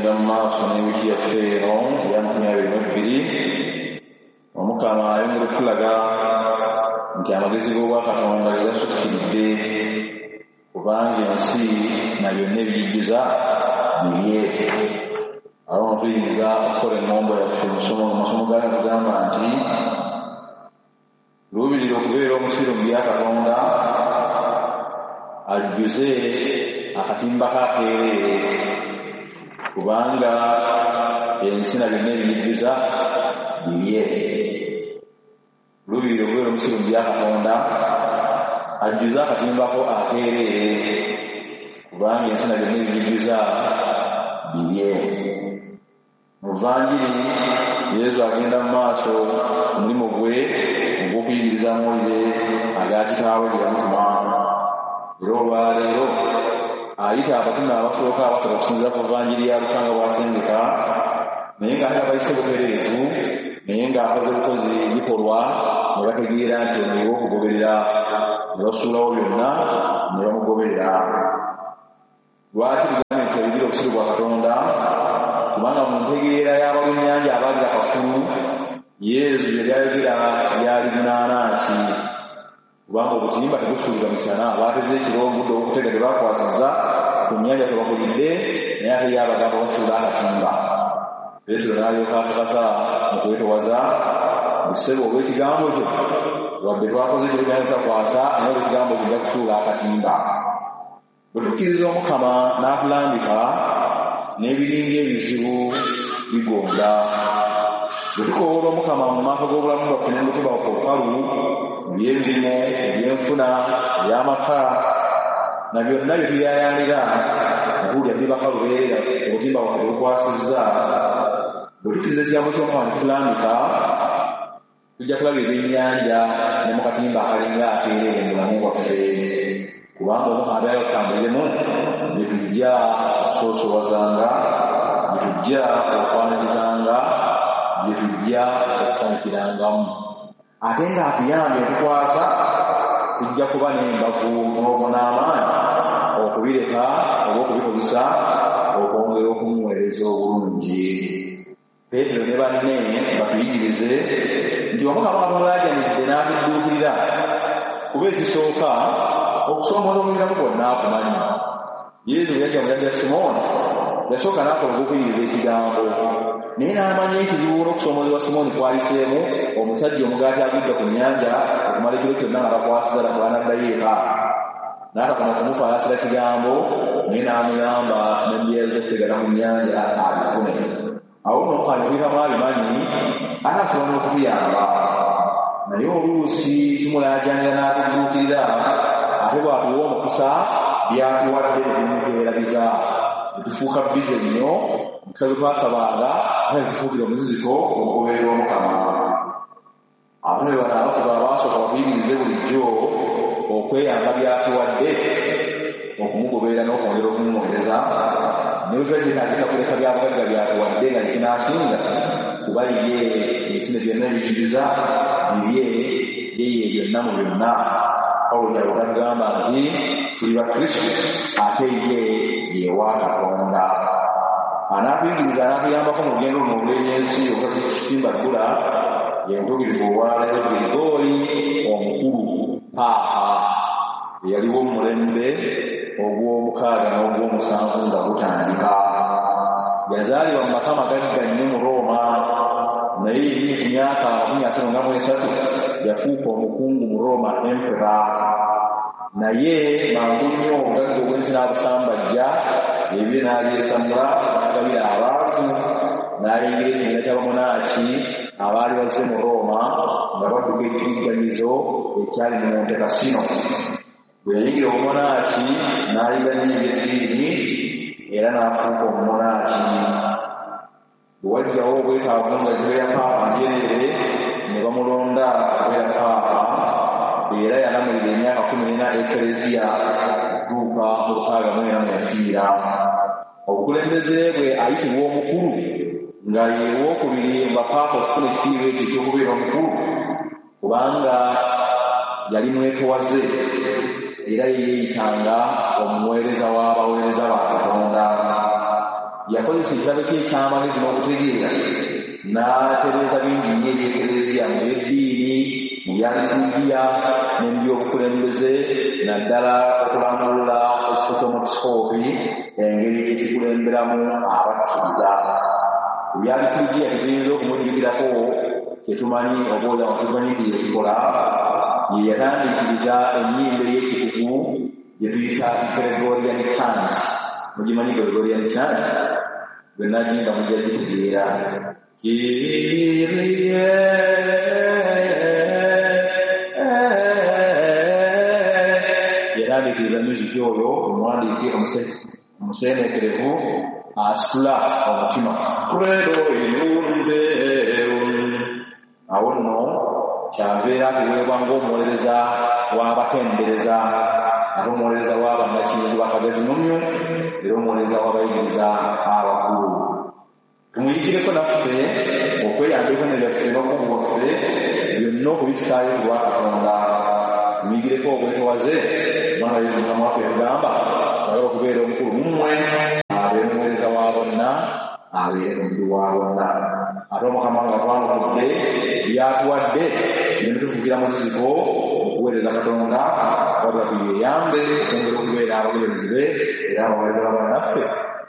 Tugenda mu maaso n'ewiiki yaffe eno eya 2022. Omukama ayongera okutulaga nti amagezi g'Obwakatonda ge gasukkiridde, kubanga ensi na byonna ebiyijjuza bibye. Awo tuyinza okukola emmombo yaffe mu masomo gayo tugamba nti luubirira okubeera omusiru mu bya Katonda, ajjuze akatimba k'akeereere, kubanga ensi na byonna ebiyijjuza bibye. Luubirira okubeera omusiru mu bya Katonda, ajjuze akatimbako akeereere, kubanga ensi na byonna ebiyijjuza bibye. Mu Vanjiri Yesu agenda mu maaso omulimu gwe ogw'okuyigiriza amawulire aga Kitaawe ge yamutuma. Era olwaleero ayita abatume abasooka abasatu okusinziira ku Vanjiri ya Luka nga bw'asengeka, naye ng'ate abayise butereevu, naye ng'akoze bukozi bikolwa ne bategeera nti ono ye w'okugoberera, ne basuulawo byonna ne bamugoberera. Lwaki tugambye nti ayigire obusiru bwa Katonda? Kubanga mu ntegeera y'abalunnyanja abaali bakafulu, Yesu yali ayogera byali bunaanansi, kubanga obutimba tebusuulibwa misana. Baateze ekiro obudde obw'okutega tebakwasizza ku nnyanja tebakulidde, naye ate ye abagamba basuula akatimba. Peetero n'alyoka akakasa mu kwetowaza nti, ssebo, olw'ekigambo kyo wadde twakoze ekiro kyonna tutakwasa, naye olw'ekigambo kyo nja kusuula akatimba. Bwe tukkiriza Omukama n'atulambika, n'ebiringa ebizibu bigonda. Bwe tukoowoola Omukama mu maaso g'obulamu bwaffe n'omutima gwaffe obukalu, mu by'emirimu, ebyenfuna, eby'amaka, na byonna bye tuyaayaanira, nga tuwulira tuli bakalu beerera, obutimba bwaffe tebukwasizza. Bwe tukkiriza ekigambo ky'Omukama ne tutulambika, tujja kulaba ebyennyanja ne mu katimba akalinga akeereere mu bulamu bwaffe, kubanga Omukama abeera tutambuliremu bye tujja okusoosowazanga, bye tujja okwanirizanga, bye tujja okusanyukirangamu. Ate ng'atuyambye tukwasa, tujja kuba n'embavu n'amaanyi okubireka oba okubikozesa okwongera okumuweereza obulungi. Peetero ne banne batuyigirize nti Omukama atumulaajanidde n'atudduukirira, kuba ekisooka okusoomooza okuyitamu kwonna akumanyi. Yesu bwe yajja mu lya Simooni, yasooka n'akola ogw'okuyigiriza ekigambo, naye n'amanya ekizibu n'okusoomoozebwa Simooni kwayiseemu, omusajja omugaati agujja ku nnyanja okumala ekiro kyonna nga takwasiza bw'anaddayo eka. N'atakoma kumufaasira kigambo, naye n'amuyamba n'embeera z'okutegana ku nnyanja abifune. Awo nno Omukama ebiyitamu abimanyi, ate asobola n'okutuyamba. Naye oluusi tumulaajanira n'atudduukirira, ate bw'atuwa omukisa by'atuwadde ne bimutwerabiza, ne tufuuka bize nnyo, omukisa gwe twasabanga ate ne tufuukira omuziziko omugoberera Omukama. Abatume bano abasatu abaasooka batuyigirize bulijjo okweyamba by'atuwadde, okumugoberera n'okwongera okumuweereza, ne bwe kiba kyetaagisa kuleka bya bugagga by'atuwadde nga tekinaasinga, kuba ye ensi ne byonna ebiyijjuza bibye, ye ye byonna mu byonna. Pawulo ky'ava atugamba nti tuli ba Kristo ate ye ye wa Katonda. Anaatuyigiriza, anaatuyambako mu lugendo luno olw'ebyensi obutatusimba bbula, ye mutuukirivu olwaleero Girigooli omukulu Paapa, eyaliwo mu mulembe ogw'omukaaga n'ogw'omusanvu nga gutandika. Yazaalibwa mu maka magagga nnyo mu Rooma, naye yennyini ku myaka 53 yafuuka omukungu mu Rooma, emperor. Naye mangu nnyo obugagga obw'ensi n'abusambajja, ebibye n'abyesamula n'agabira abaavu, n'ayingira ekibiina ky'abamonaaki abaali bazze mu Rooma nga badduka ekiyigganyizo ekyali mu Monte Cassino. Bwe yayingira obumonaaki n'ayiga nnyo eby'eddiini era n'afuuka omumonaaki. Bwe wajjawo obwetaavu nga ekifo ya Paapa njereere, ne bamulonda okubeera Paapa, era yalamulira emyaka 14 Ekereziya okutuuka mu 64 mwe yafiira. Obukulembeze bwe ayitibwa omukulu, nga ye wookubiri mu bapaapa okufuna ekitiibwa ekyo eky'okubeera omukulu, kubanga yali mwetowaze era ye yeeyitanga omuweereza w'abaweereza ba Katonda. Yakozesa ekitabo kye eky'amagezi n'okutegeera n'atereeza bingi nnyo eby'Ekereziya mu by'eddiini, mu bya liturgiya ne mu by'obukulembeze, naddala okulambulula ekifo ky'omwepisikoopi engeri gye kikulemberamu abakkiriza. Ku bya liturgiya tetuyinza okumujjukirako kyetumanyi oba olyawo tumanyi nti yekikola, ye yatandiikiriza ennyimba ey'ekikugu gye tuyita Gregorian chant. Mugimanyi Gregorian chant? Bwe nagimba mujja gitegeera. Kyrie yatandiikiriza music oyo omuwandiike omuseeneekerevu asitula omutima. Credo in Deum. Awo nno kyava era atuweebwa ng'omuwolereza w'abatendereza, ate omuwolereza w'abannakinku bakagezi mumyu, era omuwolereza w'abayigiriza abakulu. Tumuyigireko naffe okweyamba ebitone byaffe n'obukugu bwaffe byonna okubissaayo ku lwa Katonda. Tumuyigireko obwetowaze, kubanga Yesu Mukama waffe yatugamba ayagala okubeera omukulu mu mmwe, abeere omuweereza wa bonna, abeere omuddu wa bonna. Ate Omukama nga twanukudde by'atuwadde, bireme tufuukira muziziko okuweereza Katonda, wabula tuyeeyambe okwongera okubeera abagoberezi be era abaweereza ba bannaffe.